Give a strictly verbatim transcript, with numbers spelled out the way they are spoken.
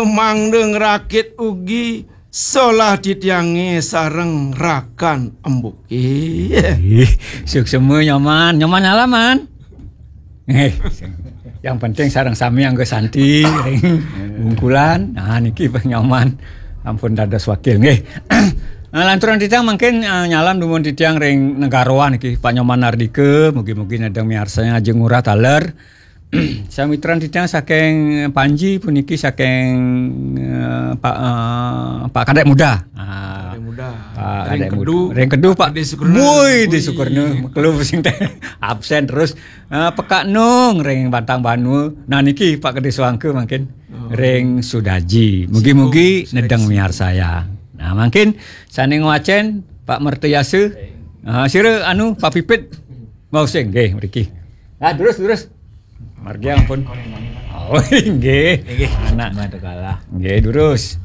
Mangda ngrakit ugi solah titiange sareng rakan embuke. Ih, suksema Nyoman, Nyoman nyalaman. Eh, yang penting sareng sami angga santi ring bungkulan. Nah, niki Pak Nyoman ampun dados wakil nggih. Nah, lanturan titiang mangkin, eh, nyalam dumun titiang ring Negaroan niki Pak Nyoman Ardika, mugi-mugi nedeng miarsanya ajeng ngurah taler. Samitran titiang saking Panji puniki saking, eh, Pak, eh, Pak Kadek Muda. Ah, Kadek Muda. Pak Ring Kadek Muda. Kedu, Ring Kedu, Pak Pak. Disukurna. Woi, Woi. Disukurna. Makelo sing teh absen terus. Eh, Pekak Nung ring Bantang Banua. Nah, niki Pak Gede Suangka mangkin. Oh. Ring Sudaji. Mugi-mugi Singkung, nedeng Sudaji. Miarsayang. Nah, mangkin sane ngwacen Pak Mertayasa. Ah, sira anu Pak Pipit. Mau sing nggih mriki. Nah, terus, terus. Margi ampun. Oh, nggih. Nggih. Anak. Mantap kalah. Nggih, terus.